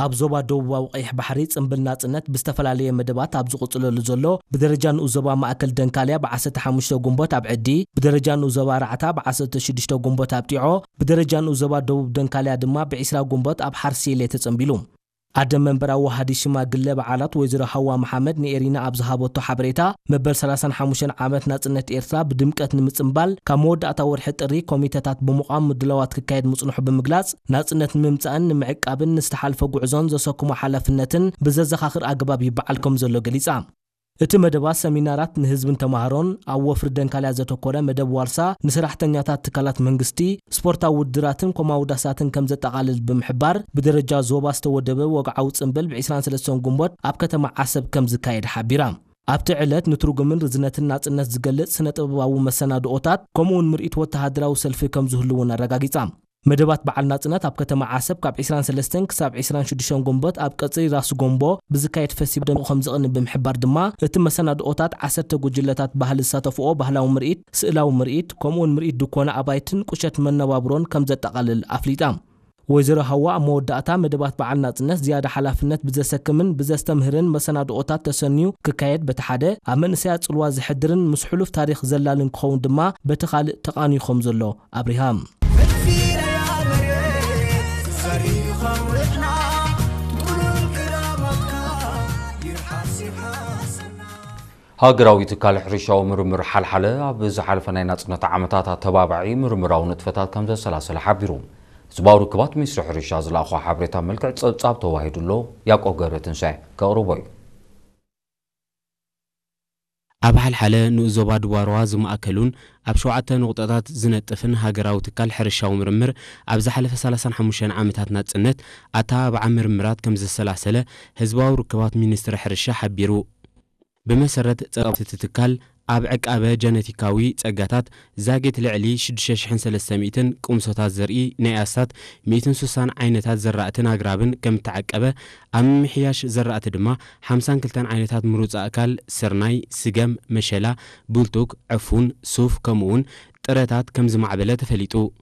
ኣብ ዞባ ደቡባዊ ቀይሕ ባሕሪ ጽምብል ናጽነት ብዝተፈላለየ መደባት ኣብ ዝቕጽለሉ ዘሎ፣ ብደረጃ ንኡስ ዞባ ማእከል ደንካልያ ብ15 ጉንቦት ኣብ ዕዲ፣ ብደረጃ ንኡስ ዞባ ራዕታ ብ16 ጉንቦት ኣብ ጢዖ፣ ብደረጃ ንኡስ ዞባ ደቡብ ደንካልያ ድማ ብ20 ጉንቦት ኣብ ሓርሲሌ ተጸንቢሉ። ኣደ መንበር ኣዋሃዲ ሽማግለ በዓላት ወይዘሮ ሃዋ መሓመድ ንኤሪና ኣብ ዝሃበቶ ሓበሬታ፣ መበል 35 ዓመት ናጽነት ኤርትራ ብድምቀት ንምጽንባል ካብ መወዳእታ ወርሒ ጥሪ ኮሚተታት ብምቋም ምድላዋት ክካየድ ምጽንሑ ብምግላጽ፣ ናጽነት ንምምጻእን ንምዕቃብን ንዝተሓልፈ ጉዕዞን ዘሰክሞ ሓላፍነትን ብዘዘኻኽር ኣገባብ ይበዓል ከም ዘሎ ገሊጻ። እቲ መደባት ሰሚናራት ንህዝብን ተማሃሮን፣ ኣብ ወፍሪ ደንካልያ ዘተኮረ መደብ ዋርሳ ንሰራሕተኛታት ትካላት መንግስቲ፣ ስፖርታዊ ውድድራትን ኮማውዳሳትን ከም ዘጠቓልል ብምሕባር፣ ብደረጃ ዞባ ዝተወደበ ወግዓዊ ጽምብል ብ23 ጉንቦት ኣብ ከተማ ዓሰብ ከም ዝካየድ ሓቢራ። ኣብቲ ዕለት ንትርጉምን ርዝነትን ናጽነት ዝገልጽ ስነ-ጥበባዊ መሰናድኦታት፣ ከምኡውን ምርኢት ወተሃደራዊ ሰልፊ ከም ዝህሉ እውን ኣረጋጊጻ። መደባት በዓል ናጽነት ኣብ ከተማ ዓሰብ ካብ 23 ክሳብ 26 ጉንቦት ኣብ ቀጽሪ ራስ ጎምቦ ብዝካየድ ፈስቲቫል ደሚቑ ከም ዝቕኒ ብምሕባር ድማ፣ እቲ መሰናድኦታት ዓሰርተ ጉጅለታት ባህሊ ዝሳተፍኦ ባህላዊ ምርኢት፣ ስእላዊ ምርኢት፣ ከምኡውን ምርኢት ድኮና ኣባይትን ቁሸት መነባብሮን ከም ዘጠቓልል ኣፍሊጣ። ወይዘሮ ሃዋ ኣብ መወዳእታ፣ መደባት በዓል ናጽነት ዝያዳ ሓላፍነት ብዘሰክምን ብዘስተምህርን መሰናድኦታት ተሰንዩ ክካየድ በቲ ሓደ፣ ኣብ መንእሰያት ጽልዋ ዘሕድርን ምስ ሕሉፍ ታሪኽ ዘላልን ክኸውን ድማ በቲ ካልእ ተቓንዩ ከም ዘሎ ኣብሪሃ። ሃገራዊ ትካል ሕርሻዊ ምርምር ሓልሓለ ኣብ ዝሓለፈ ናይ ናጽነት ዓመታት ኣተባባዒ ምርምራዊ ንጥፈታት ከም ዘሰላሰለ ሓቢሩ። ህዝባዊ ርክባት ሚኒስትሪ ሕርሻ ዝለኣኾ ሓበሬታ መልክዕ ጸብጻብ ተዋሂዱ ኣሎ። ያዕቆብ ገብረትንሳኤ ከቕርቦ እዩ። ኣብ ሓልሓለ ንኡስ ዞባ ድዋርዋ ዝማእከሉን ኣብ ሸውዓተ ነቑጣታት ዝነጥፍን ሃገራዊ ትካል ሕርሻዊ ምርምር ኣብ ዝሓለፈ 35 ዓመታት ናጽነት ኣተባባዓ ምርምራት ከም ዘሰላሰለ ህዝባዊ ርክባት ሚኒስትሪ ሕርሻ ሓቢሩ። ብመሰረት ጸብጻብ እቲ ትካል፣ ኣብ ዕቃበ ጀነቲካዊ ጸጋታት ዛጌት ልዕሊ 6,300 ቅምሶታት ዘርኢ ናይ ኣስታት 160 ዓይነታት ዘራእትን ኣግራብን ከም እተዓቀበ፣ ኣብ ምምሕያሽ ዘራእቲ ድማ 52 ዓይነታት ምሩጽ ኣእካል፣ ስርናይ፣ ስገም፣ መሸላ፣ ቡልቱግ፣ ዕፉን፣ ሱፍ፣ ከምኡውን ጥረታት ከም ዝማዕበለ ተፈሊጡ።